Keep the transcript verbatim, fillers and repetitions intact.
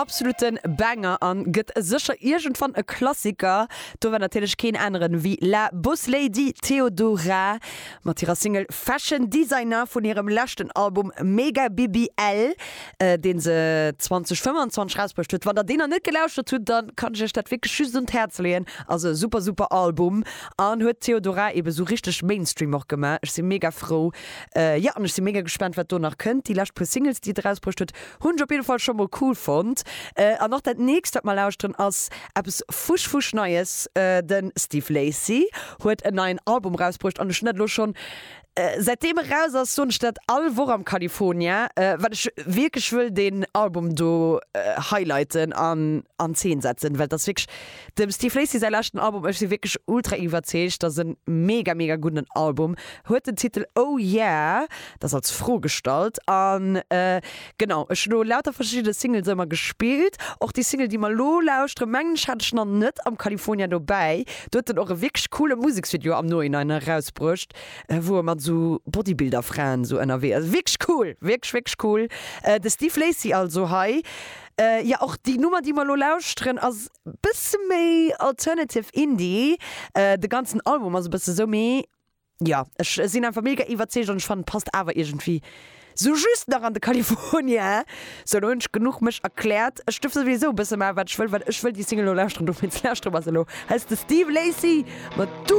absoluten Banger an gëtt sécher iergendwann e Klassiker. Do war natierlech keen aneren wéi La Boss Lady Theodora mat hirer Single Fashion Designer vun hirem leschten Album Mega BBL, deen se zwanzeg fënnfanzwanzeg rausbruecht huet. Wann der deen nach net gelauschtert hutt, dann kann ech iech dat wierklech just un d'Häerz leeën. Ass e super super Album an huet d'Theodora ebe sou richteg Mainstream och gemaach. Ech si mega frou. Jo, an ech si mega gespaant, wat do nach kënnt. Déi lescht puer Singles, déi et erausbruecht huet, hunn ech op jidde Fall scho mol cool fonnt. An och dat nächst, wat mer lauschteren, ass eppes fusch fusch Neies. De Steve Lacy huet en neien Album erausbruecht an ech hunn dat elo schonn säitdeem e raus ass, soen ech dat all Woch am California, well ech wierklech wëll deen Album do highlighten an an Zeen setzen, well et ass wierklech dem Steve Lacy säi leschten Album. Ech si wierklech ultra iwwerzeegt, dat ass e mega mega gudden Album. Huet den Titel Oh Yeah, dat ass als Fro gestallt. An genau, ech hunn elo lauter verschidde Singles ëmmer gespillt. Och déi Single, déi mer elo lauschteren, mengen ech hat ech nach net am California dobäi. Do huet en och e wierklech coole Museksvideo am Nohinein erausbruecht, wou e mat sou Bodybuilder-Fraen sou ënnerwee ass. Wierklech cool, wierklech, wierklech cool. De Steve Lacy also hei. Jo, och déi Nummer, déi mer elo lauschteren, ass bësse méi Alternative Indie. De ganzen Album ass e bësse sou, mee jo, ech sinn einfach mega iwwerzeegt an ech fannen, et passt awer iergendwéi sou just nach an de California. Sou, elo hunn ech genuch mech erkläert. Ech duerf souwisou e bësse maachen, wat ech wëll, well ech wëll déi Single elo lauschteren. Dowéinst lauschtere mer se elo. Hei ass de Steve Lacy mat.